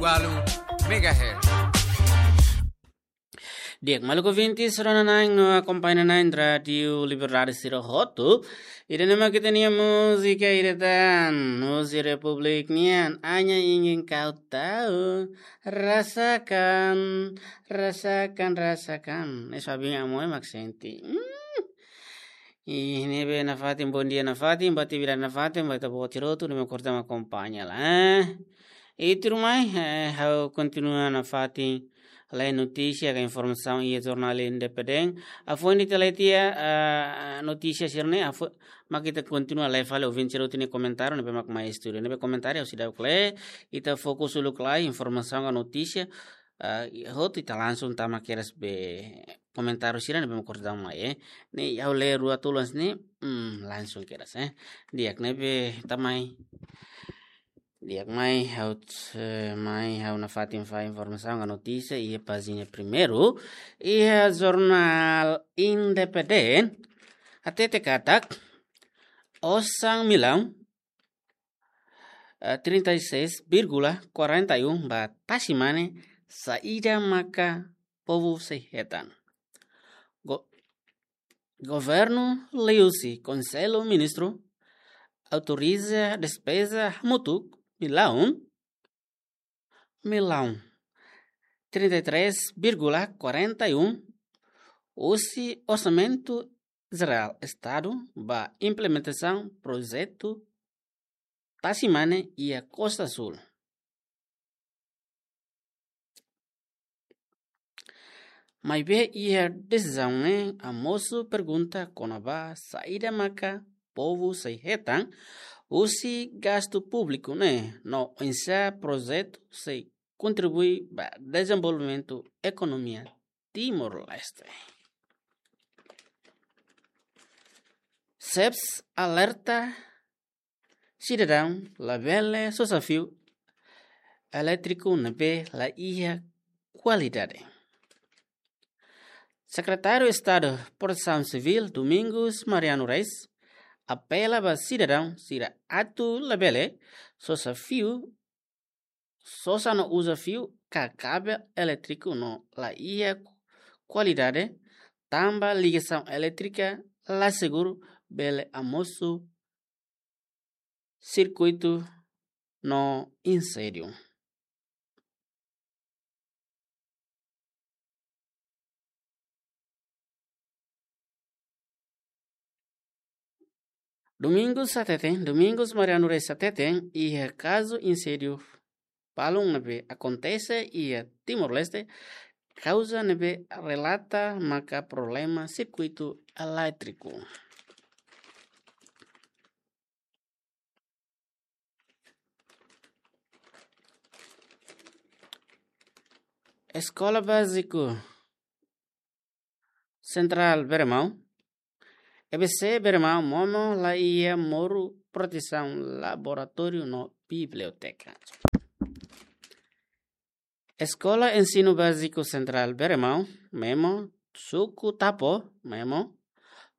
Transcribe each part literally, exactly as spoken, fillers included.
walu megahertz. Di'ak, maluk ouvintes, rona-na'in no akompaña-na'in Rádiu Liberdade sira hotu. Ida-ne'e mak ita-nia múzika ida tan, múzika Republik nian, Hanya Ingin Kau Tahu. Rasakan, rasakan, rasakan. Ne'e só abin amoi mak sente. Hmm. Ih, ne'ebé nafatin, bondia nafatin, ba atividade nafatin, ba ita-boot hotu, ne'e mak korta mak akompaña lai. Ita mai, eh, ha'u kontinua nafatin lee notísia ka informasaun iha jornál Independente. Hafoin ita lee tiha, eh, notísia sira-ne'e, hafo-, mak ita kontinua lee fali ouvinte sira hotu nia komentáriu, ne'ebé mak mai estúdiu. Ne'ebé komentáriu ha'u seidauk lee, ita fokus uluk lai informasaun ka notísia, eh, hotu ita langsung tama kedas ba komentáriu sira ne'ebé mak korta mai, eh. Ne'e ha'u lee rua tolu hanesan ne'e, hmm, langsung kedas, eh. Di'ak, ne'ebé ita mai. Di'ak, mai ha'u, eh, mai ha'u nafatin fali informasaun ka notísia iha pájina primeiru iha jornál Independente. Hatete katak osan millaun, eh, trinta e seis vírgula quarenta e um ba tasi-mane, saida maka povu sei hetan. Go-, Governu liuhusi Konsellu Ministru autoriza despeza hamutuk millaun, millaun trinta e três vírgula quarenta e um husi Orsamentu Jerál Estadu ba implementasaun projetu tasi-mane iha Kosta Súl. Maibé iha desizaun ne'e hamosu pergunta kona-ba saida maka povu sei hetan husi gastu públiku ne'e no oinsá projetu sei kontribui ba dezenvolvimentu ekonomia Timor-Leste. SEBS alerta sidadaun labele sosa fiu elétriku ne'ebé la iha kualidade. Sekretáriu Estadu Protesaun Sivíl, Domingos Mariano Reis, apela ba sidadaun sira atu labele sosa fiu, sosa no uza fiu ka kabel elétriku no la iha kualidade, tanba ligasaun elétrika la seguru, bele hamosu sirkuitu no inséndiu. Domingos hateten, Domingos Mariano Reis hateten, iha kazu inséndiu balun ne'ebé akontese iha Timor-Leste, kauza ne'ebé relata maka problema sirkuitu elétriku. Eskola Báziku Sentrál Bere-Mau, E B C Bere-Mau, Memo, la iha moru protesaun laboratóriu no biblioteka. Eskola Ensinu Báziku Sentrál Bere-Mau, Memo, Suku Tapo, Memo,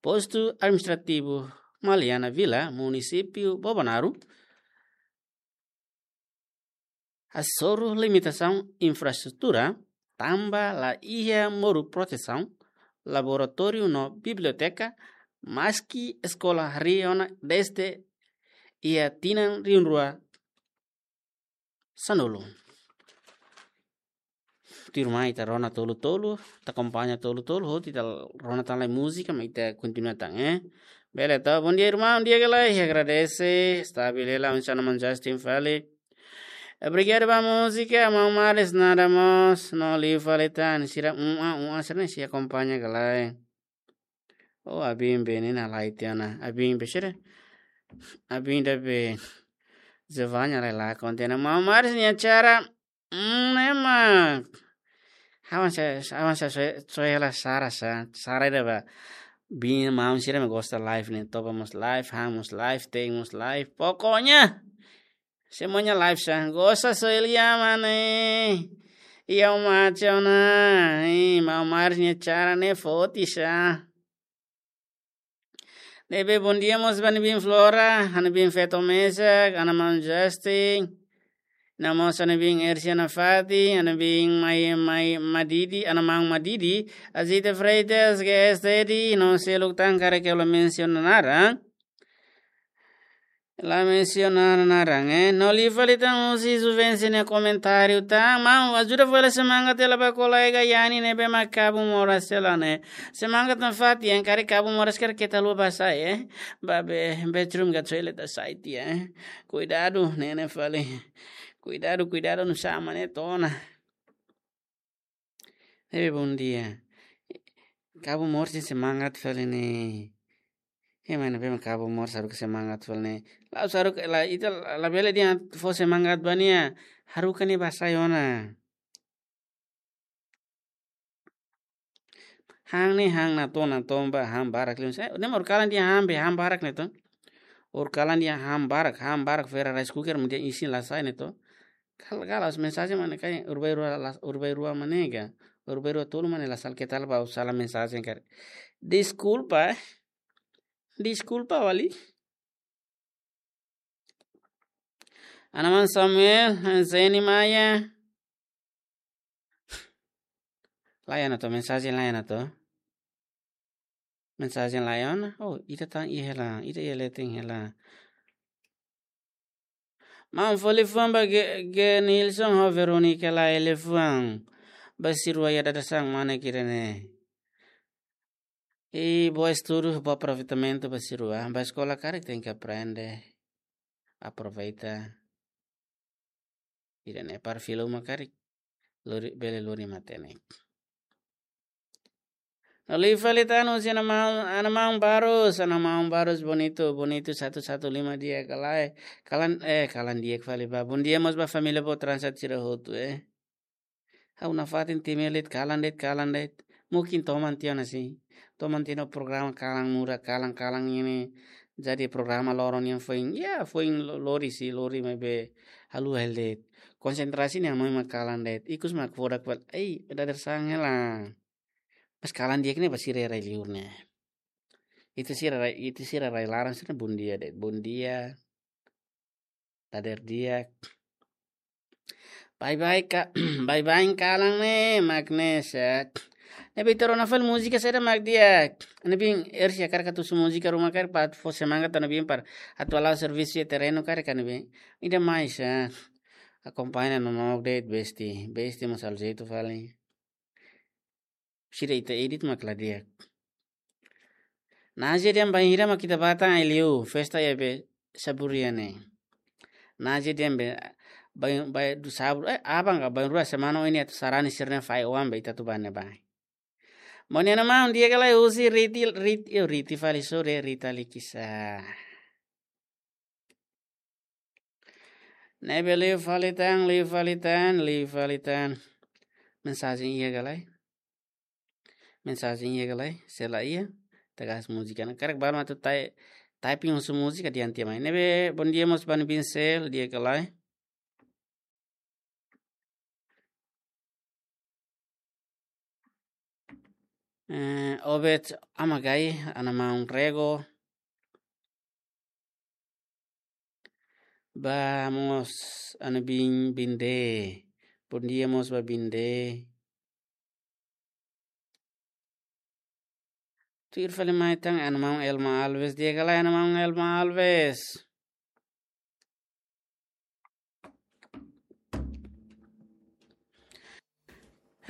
Postu Administrativu Maliana Vila, Munisípiu Bobonaro, hasoru limitasaun infraestrutura, tanba la iha moru protesaun laboratóriu no biblioteka, maski eskola harii ona dezde iha tinan rihun rua sanulu. Tuirmai ita rona tolu-tolu, ita akompaña tolu-tolu, hotu ita rona tan lai múzika, mak ita kontinua tan, eh. Bele to, bondia irmaun, di'ak ka lae, agradese, stabil hela, oinsá maun Justin fali. Obrigadu ba múzika, maun Maris nada mós, no liu fali tan, sira, um, ah, um, ah, sira-ne'e sei akompaña ka lae. Oh, abin be ne'e na lai tiha ona. Abin be sira. Abin ida be Giovanna lai la konta ona. Maun Maris nia acara. Hmm, ne'e mak. Avansa, avansa, soe, soe hela sara sa. Sara ida ba. Bin maun sira mak gosta live ne'e. Toba mós live, han mós live, te'in mós live. Pokoknya. Semuanya live sa. Gosta soe lia mane. Iha uma acha ona. Ih, maun Maris nia acara ne'e forte sa. Ne'ebé bondia mós ba nia bin Flora, ha'u-nia bin feto mesak, ha'u-nia maun Justin. Ida mós ami-nia biin Ersia Nafati, ami-nia biin Mai, Mai Madidi, ami-nia maun Madidi, Azita Freitas, G S T D, no seluk tan karik ha'u la mensiona naran. La mensiona naran, eh. No liu fali tan husi Juvencio nia komentáriu tan. Maun, ajuda fali semangat hela ba kolega Yani ne'ebé mak kabun moras hela ne'e. Semangat nafatin, karik kabun moras karik keta haluha bá sai, eh. Bá be, bedroom ka toilet bá sai tiha, eh. Kuidadu, ne'e ne'e fali. Kuidadu, kuidadu nusá mak ne'e to'o ona. Hei, bom dia. Kabun moras ne'e semangat fali ne'e. Hei, mana be mak kabun moras haruka semangat fali ne'e. La'ós haruka, la, ita la, labele dehan fó semangat ba nia. Haruka nia bá sai ona. Han ne'e han natoon, natoon ba han barak liu. Ne'e mak ha'u kalan dehan han be, han barak ne'e to. Ha'u kalan dehan han barak, han barak fera rice cooker mak dehan isin la sai ne'e to. Kal-, karik mensajen mak ne'e karik ha'u bai rua las-, ha'u bai rua mak ne'e ka. Ha'u bai rua tolu mak ne'e la sala, keta haluha bá sala mensajen karik. Deskulpa, eh. Deskulpa fali. Ana maun Samuel, Zeni Maia. Laiha ona to, mensajen laiha ona to. Mensajen laiha ona. Oh, ita tan iha hela, ita iha leten hela. Maun fó liafuan ba Ge-, Ge Nilson ho Veronica, laiha liafuan. Ba sira rua iha dadeer-saan mak ne'e kira ne'e. I boa estudu, boa aproveitamentu ba sira rua. Bá eskola karik tenke aprende. Aproveita. Ida-ne'e para fila uma karik. Lori, bele lori matenek. No liu fali tan husi ana maun, ana maun Barus, ana maun Barus Bonito, Bonito satu satu lima di'ak ka lae. Kalan, eh, kalan di'ak fali bá. Bom dia mós ba família boot Transat sira hotu, eh. Ha'u nafatin temi de'it, kalan de'it, kalan de'it. Mungkin toman tiha ona sin. Toman tiha ona programa kalan muda, kalan, kalan ne'e. Jadi programa loron nian foin, ya, foin lo-, lori sin, lori maibé haluha hela de'it. Konsentrasi ne'e mai mak kalan de'it. Ikus mak fodak fali. Ei, dadeer-saan hela. Pas kalan di'ak ne'e ba sira rai-liur ne'e. Ita sira rai, ita sira rai-laran sira bom dia de'it. Bom dia. Dadeer di'ak. Bye bye ka, bye bye kalan ne'e, mak ne'e sá. Ne'ebé ita rona fali múzika saida mak di'ak. Ne'ebé Ersia karik atu husu múzika ruma karik para fó semangat ne'ebé para atu hala'o servisu iha terrenu karik ne'ebé. Ida mai sá. Akompaña no no update besti, besti mós halo jeitu fali. Sira ita edit mak la di'ak. Naje dehan bainhira mak ita bá tan ai-liur, festa iha be Saburia ne'e. Naje dehan be bain, bain du sabru, eh, aban ka bainrua semana oin ne'e atu sarani sira-nia fai oan be ita atu bá ne'ebá. Maun nia ana maun di'ak ka lae husi Riti, Riti, yo Riti fali sore, Rita Likisa. Ne'ebé liu fali tan, liu fali tan, liu fali tan. Mensajen iha ka lae? Mensajen iha ka lae? Se la iha, ita gas múzika ona. Karik balu mak atu tai-, typing husu múzika dehan tiha mai. Ne'ebé, bom dia mós ba nia biin Sel, di'ak ka lae? Eh, Obed Amagai, ana maun Rego. Ba mós ana biin Binde. Bom dia mós ba Binde. Tuir fali mai tan ana maun Elma Alves, di'ak ka lae ana maun Elma Alves.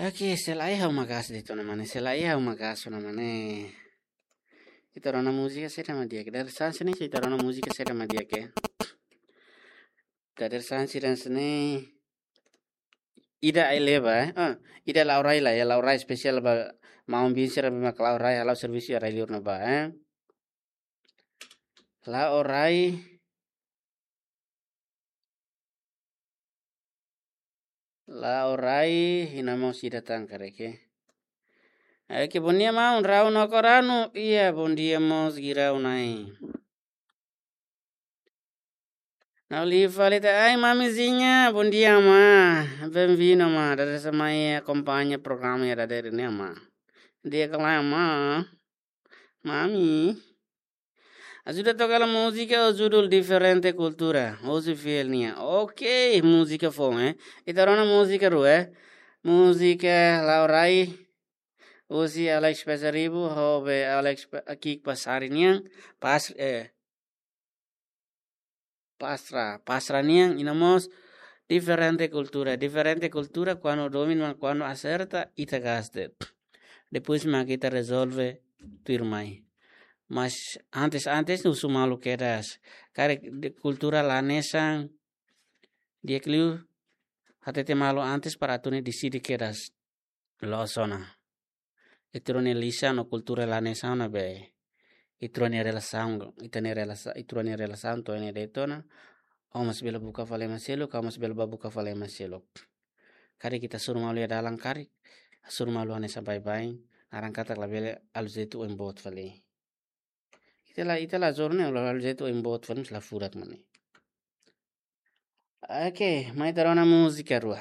Oke, se la iha ha'u mak gas de'it ona mane, se la iha ha'u mak gas ona mane. Ita rona múzika saida mak di'ak. Dadeer-saan sira-ne'e, ita rona múzika saida mak di'ak, eh. Dadeer-saan sira-ne'e. Ida ai-leba, eh. Ah, ida Laurai la, ya Laurai spesiál ba maun biin sira be mak Laurai hala'o servisu iha rai-liur ne'ebá, eh. Laurai. Laurai, hina mós ida tan karik, eh. Oke, bom dia maun, Rau no Koranu. Iya, bom dia mós Girau Nai. No liu fali tan, ai, mamizinha, bom dia, amá. Bem-vinda, amá. Dadeer-saan mai akompaña programa iha dadeer ne'e, amá. Di'ak ka lae, amá? Mami. Ajuda toka hela múzika ho judul Diferente Kultura, hosi fiel nian. Ok, múzika foun, eh. Ita rona múzika rua, eh. Múzika Laurai, hosi Alex Pasaribu, ho be Alex Pa-, Kik Pasari nian, pas, eh, Pastra, Pastra nian, i no mós Diferente Kultura. Diferente Kultura, kuandu domin, ma kuandu aserta, ita gasta. Depois mak ita rezolve tuirmai. Mas antes, antes, husu malu kedas. Karik de kultura la hanesan, di'ak liu hatete malu antes para atu nune'e deside kedas. Loos ona. Ita rua-nia lisan no kultura la hanesan ona be. Ita rua-nia relasaun, ita-nia relasa-, ita rua-nia relasaun to'o iha ne'e de'it ona. Ó mós bele buka fali ema seluk, ha'u mós bele bá buka fali ema seluk. Karik ita hasoru malu iha dalan karik, hasoru malu hanesan baibain, naran katak labele halo jeitu oin boot fali. Ita la, ita la hasoru ne'e, halo jeitu oin boot fali, la furak mak ne'e. Ok, mai ita rona múzika rua.